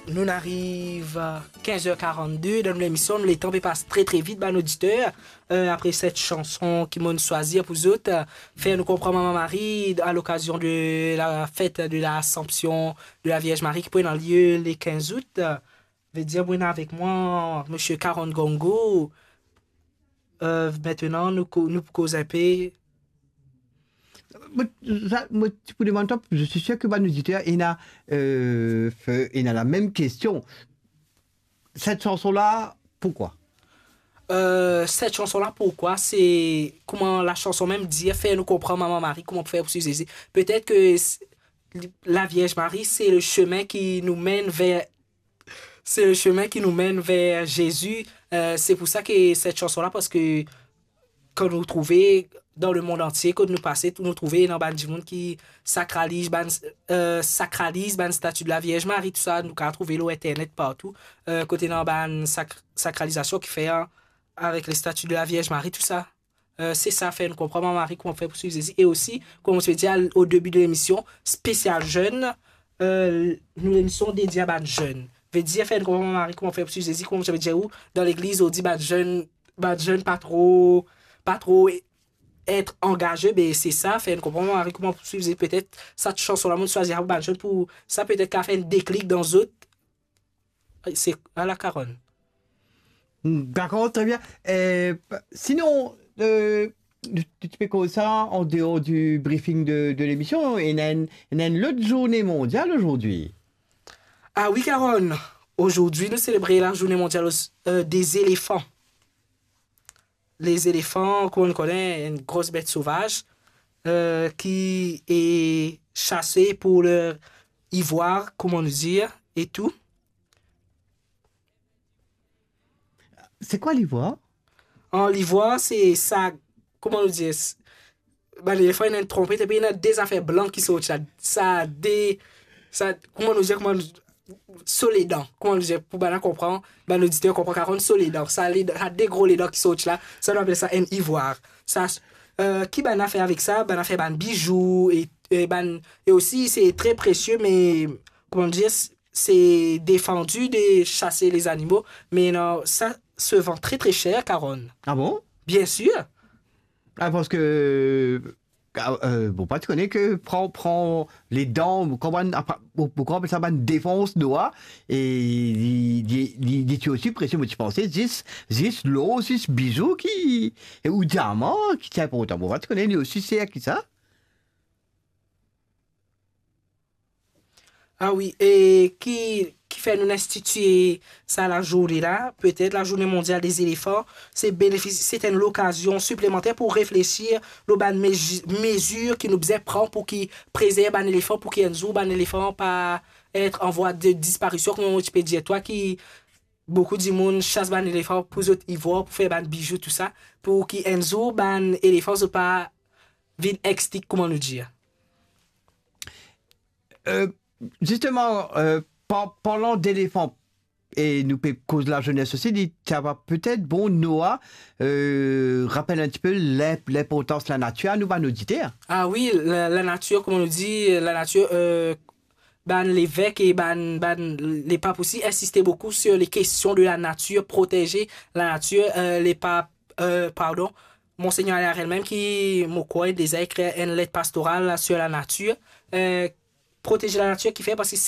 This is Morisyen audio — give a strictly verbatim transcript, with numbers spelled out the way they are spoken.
Nou'nn ariv, euh, kinz er karannde dan nou lemision, letan pe pas tre, tre vit, bann oditer. Euh, apre set sanson ki mo'nn swazir pou zot, euh, fer nou konpran Mama Mari a lokazion de la fet de Lasanpsion de la Vierz Mari ki pou ena lie le kinz out. Euh, vedir, mo ena avek mwa misie Karon Gongo. Euh, mintenan, nou ko-, nou pou koz inpe. Mo, sa, mo ti pou demann twa, je suis sûr que bann oditer ena, euh, fe-, ena la mem kestion. Set sanson la, pourquoi? Euh, set sanson la, pourquoi? Se kouma lasanson mem dir, fer nou konpran Mama Mari, kouma pou fer pou swiv Zezi. Petet ke s-, la Vierz Mari, se le chemin qui nous mène vers, c'est le chemin qui nous mène vers Jésus. Euh, se pou sa ke set sanson la, parski kan nou trouve dan lemond antie, kot nou pase, nou trouve ena bann dimoun ki sakraliz bann, euh, sakraliz bann stati de la Vierz Mari, tou sa, nou kav trouve lor internet partou, euh, kot ena bann sak-, sakralizasion ki fer avek le stati de la Vierz Mari, tou sa. Euh, se sa, fer nou konpran Mama Mari kouma fer pou swiv Zezi. E osi, kouma mo ti pe dir o debi de lemision, spesial zenn, euh, nou lemision dedie a bann zenn. Vedir, fer nou konpran Mama Mari kouma fer pou swiv Zezi, kouma mo ti pe dir ou, dan legliz, ou dir bann zenn, bann zenn pa tro, pa tro et angaze, be se sa, fer nou konpran Mama Mari kouma pou swiv Zezi. Petet sa sanson la, mo'nn swazir pou bann zenn, pou sa petet kav fer enn deklik dan zot. Ay, se ala Karon. Dakor, tre bien. Eh, sinon, euh, nou, nou ti pe koz sa, an deor di briefing de, de lemision, ena enn, ena enn lot zourne mondial azordi. Ah wi, Karon. Azordi, nou selebre la Journée mondiale, euh, des éléphants. Lezelevan, kouma nou kone, enn gro bet sovaz, euh, ki e sase pou ler ivwar, kouma nou dir, e tou. Se kwa livwar? An livwar, se sa, kouma nou dir, s-, bann lezelevan ena enn tronpet, epi ena de zafer blan ki sorti la. Sa de, sa, kouma nou dir, kouma nou, so ledan, kouma nou dir, pou bann konpran, bann oditer konpran, Karon so ledan, sa ledan, sa de gro ledan ki sorti la, sa nou apel sa enn ivwar. Sa, euh, ki bann fer avek sa? Bann fer bann bizou, e, e bann, e osi, se tre presie, me, kouma nou dir, s-, se defandi de sase lezanimo, me non, sa se vann tre, tre ser, Karon. Ah bon? Bien sir. Ah, parski, ah, euh, bon, pa ti kone ke pran, pran ledan, kouma, apa, pou, pou kouma apel sa, bann defans nwa, e li, li, li, li ti osi presie, mo ti panse, zis, zis lor, zis bizou ki, e ou diaman, ki ti inportan. Bon, pa ti kone, li osi ser ki sa. Ah wi, e ki, ki fer nou institie sa lazourne la, petet la Journée mondiale des éléphants, se benefis-, se enn lokazion siplemanter pou reflesir lor bann mezi-, mezir ki nou bizin pran pou ki prezerv bann elefan, pou ki enn zour bann elefan pa et an vwa de disparision, kouma mo ti pe dir twa, ki boukou dimoun sas bann elefan pou zot ivwar, pou fer bann bizou, tou sa, pou ki enn zour bann elefan zot pa vinn extinct, kouma nou dir. Euh, zisteman, euh, pa-, parlan delefan, e nou pe koz lazenes osi, li ti ava petet bon, Noah, euh, rapel enn tipe linp-, linportans lanatir a nou bann oditer. Ah wi, la, lanatir, kouma nou dir, lanatir, euh, bann levek e bann, bann lepap osi insiste boukou sur les questions de la nature, protéger la nature, euh, lepap, euh, pardon, Monseigneur Alarel mem ki, mo krwar, deza ekrir enn let pastoral sur la nature, euh, protéger la nature, ki fer, parski